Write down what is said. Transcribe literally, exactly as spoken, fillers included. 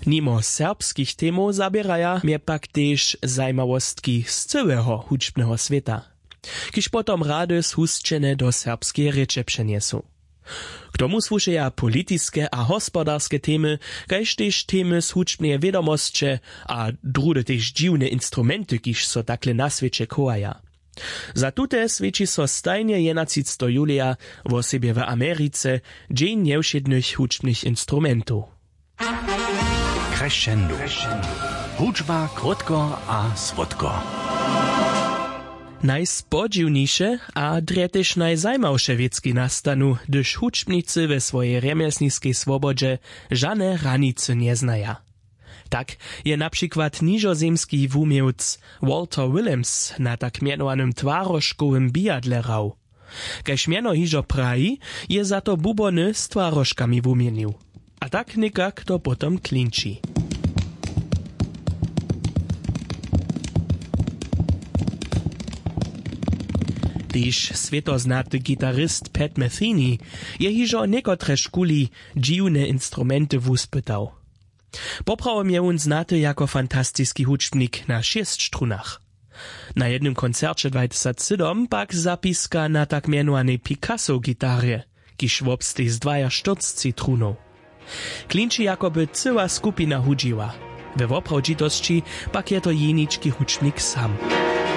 Nimo serbskich temow zaběraja mje pak tež zajimawostki z cyłeho hudźbneho swěta, kiž potom rady zhusćene do serbskeje rěče přenjesu. K tomu słušeja politiske a hospodarske temy, kaž tež temy z hudźbneje wědomosće a druhdy tež dźiwne instrumenty, kiž so takle na swěće chowaja. Za tute swjeći so stajnje jedenatřiceteho julija, wosebje w Americe, dźeń njewšědnych hudźbnych instrumentow. Crescendo. Hudźba krótko a słodko. Najspodźiwniše a drje tež najzajimawše wěcki nastanu, hdyž hudźbnicy we swojej rjemjesniskej swobodźe žane hranicy njeznaja. Tak je na přikład nižozemski wuměłc Walter Willems na tak mjenowanym twarožkowym bijadle hrał. Kaž mjeno hižo praji, je za to bubony z twarožkami wuměnił. A tak někak to potom klinči. Tež swětoznaty gitarist Pat Metheny je hižo někotre škuli dźiwne instrumenty wuspytał. Poprawom je wón znaty jako fantastiski hudźbnik na šěsć strunach. Na jednym koncerće dwatysacsydomk pak zapiska na tak mjenowanej Picasso gitarje, kiž wobsteji z dwajaštyrcci trunow. Klinči jako by cyła skupina hudźiła. We woprawdźitosći pak je to jenički hudźbnik sam.